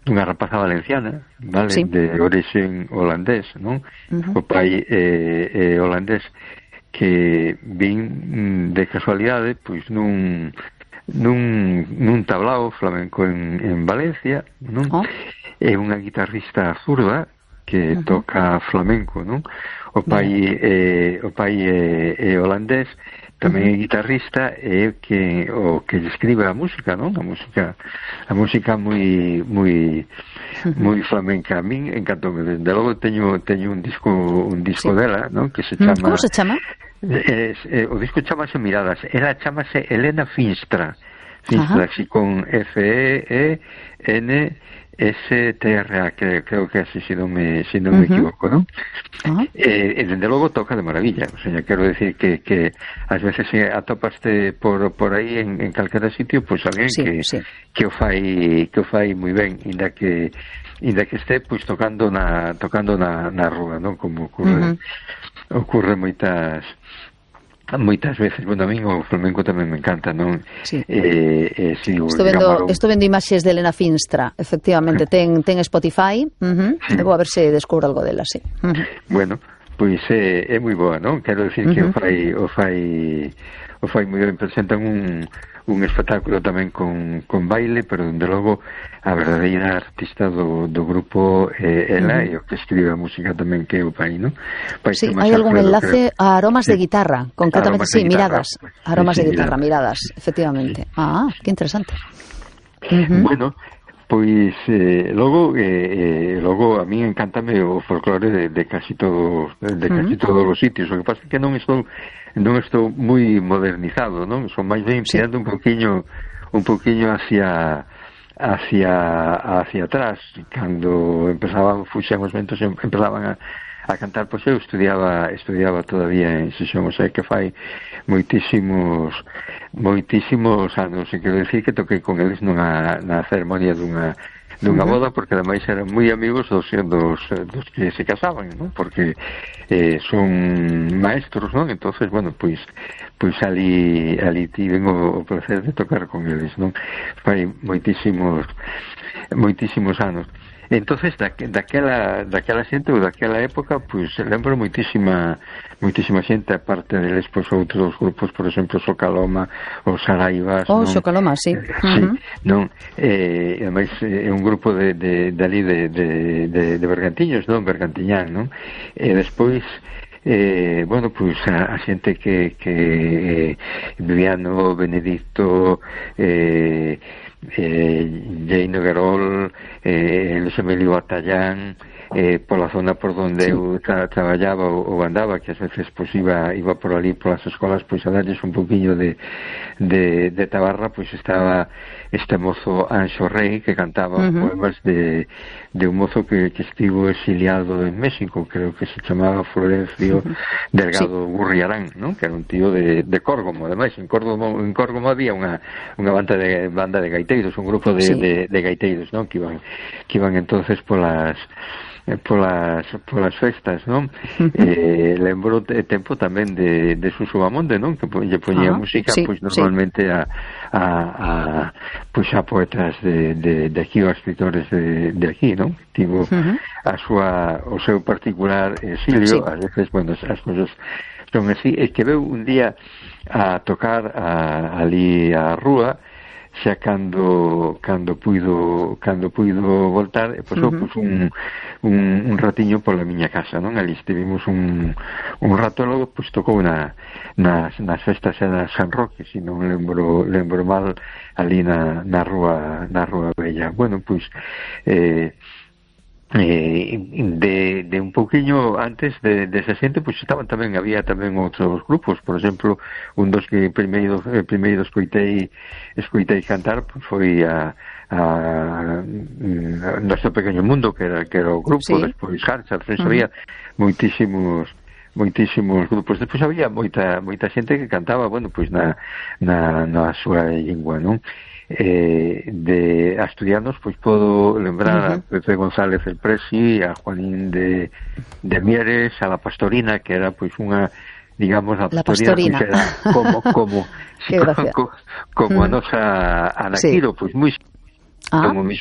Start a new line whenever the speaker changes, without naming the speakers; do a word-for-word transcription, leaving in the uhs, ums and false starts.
unha rapaza valenciana, vale,
sí.
de orixen holandés, non? Uh-huh. O pai é, é holandés, que vin de casualidade, pois nun nun, nun tablao flamenco en, en Valencia, non? Oh. É unha guitarrista zurda que uh-huh. toca flamenco, non? O pai é, o pai é, é holandés, tamén é guitarrista, e que o que escribe a música, non? A música, a música moi moi moi flamenca. A min encantoume, desde logo teño teño un disco un disco sí. dela, non? Que se chama
Como se chama?
Es, eh, o disco chamase Miradas. Ela chamase Elena Finstra. Finstra, así con F E E N S T R A, que creo que así si non me, si non uh-huh. me equivoco, ¿no? Uh-huh. Eh, e dende logo toca de maravilla, o sea, quero decir que, que ás veces se atopaste por, por aí en, en calquera sitio, pois pues, alguén sí, que, sí. que o fai que o fai moi ben, inda que inda que este pois pues, tocando na tocando na, na rúa, non? Como ocurre uh-huh. ocurre moitas moitas veces. Bueno, a mí o flamenco tamén me encanta, non?
Sí.
Eh, eh, si
estou vendo, un... estou vendo imaxes de Elena Finstra, efectivamente, ten, ten Spotify, uh-huh. sí. Vou a ver se descubro algo dela, sí. Uh-huh.
Bueno, pois é, é moi boa, non? Quero dicir uh-huh. que o fai o fai o fai moi ben, presentan un un espectáculo tamén con, con baile, pero dende logo a verdadeira artista do, do grupo é eh, ela, uh-huh. e o que escribe a música tamén, que é o pai, non? Pai
sí, hai algún enlace creo. A aromas sí. de guitarra, concretamente, aromas sí, miradas, guitarra. Aromas sí, sí, de guitarra, miradas, miradas efectivamente. Sí. Ah, que interesante.
Uh-huh. Bueno, pois eh, logo eh, eh, logo a mí encántame o folclore de, de casi todo de casi uh-huh. todos os sitios. O que pasa é que non estou non estou moi modernizado, non? Son máis ben tirando sí. un poquinho un poquinho hacia hacia hacia atrás, cando empezaban fuxan os ventos, empezaban a a cantar, pois eu estudiaba estudiaba todavía en Sesión, o sea que fai moitísimos moitísimos anos, e quero dicir que toquei con eles nunha na ceremonia dunha dunha uh-huh. boda, porque ademais eran moi amigos dos, dos, dos que se casaban, non? Porque eh, son maestros, non? Entonces, bueno, pois pois ali ali tiven o, o placer de tocar con eles, non? Fai moitísimos moitísimos anos. Entonces, da, daquela, daquela xente ou daquela época, pois lembro moitísima moitísima xente, aparte deles, pois outros grupos, por exemplo, Socaloma ou Saraivas.
Oh, non? Socaloma, sí.
Sí, uh-huh. non? Eh, ademais, é un grupo de, de, de ali de, de, de, de Bergantiños, non? Bergantiñán, non? E despois eh, bueno, pois a, a xente que, que eh, Viviano, Benedicto, eh, eh, Jaino Guerol, eh, Luis Emilio Batallán, eh, pola zona por donde sí. eu tra traballaba ou, ou andaba, que ás veces pois iba iba por ali polas escolas, pois a darles un poquinho de, de, de tabarra, pois estaba este mozo Anxo Rey, que cantaba uh-huh. poemas de, de un mozo que, que estivo exiliado en México, creo que se chamaba Florencio uh-huh. Delgado sí. Gurriarán, ¿no? Que era un tío de, de Córgomo. Ademais, en Córgomo, en Córgomo había unha, unha banda de banda de gaiteiros, un grupo de, sí. de, de gaiteiros, ¿no? Que iban, que iban entonces polas polas polas festas, non? Uh-huh. Eh, lembro de tempo tamén de, de Suso Bamonde, non? Que lle poñía uh-huh. música, sí, pois normalmente sí. a, a, a pois a poetas de, de, de aquí, ou a escritores de, de aquí, non? Tivo uh-huh. a súa, o seu particular exilio, sí. ás veces, bueno, as cousas son así, e que veu un día a tocar a, ali a rúa, xa cando cando puido cando puido voltar, e pois, uh-huh. pois un, un, un ratiño pola miña casa, non? Ali estivemos un, un rato, logo pois tocou na, nas, nas festas de San Roque, se non lembro lembro mal, ali na, na rúa na rúa Bella. Bueno, pois eh Eh, de, de un pouquiño antes de, de esa xente, pois estaban tamén, había tamén outros grupos, por exemplo, un dos que primeiro eh, primeiro escoitei escoitei cantar, pois foi a, a, a Noso Pequeño Mundo, que era, que era o grupo, sí. Despois Harcha, despois uh-huh. había moitísimos moitísimos grupos, despois había moita moita xente que cantaba, bueno, pois na, na, na súa lingua, non? Eh, de asturianos, pois podo lembrar uh-huh. a Pepe González el Presi, a Juanín de, de Mieres, a La Pastorina, que era pois unha, digamos, a Pastorina, que era como como como, como uh-huh. a nosa Anaquiro, pois moi ah. como mismo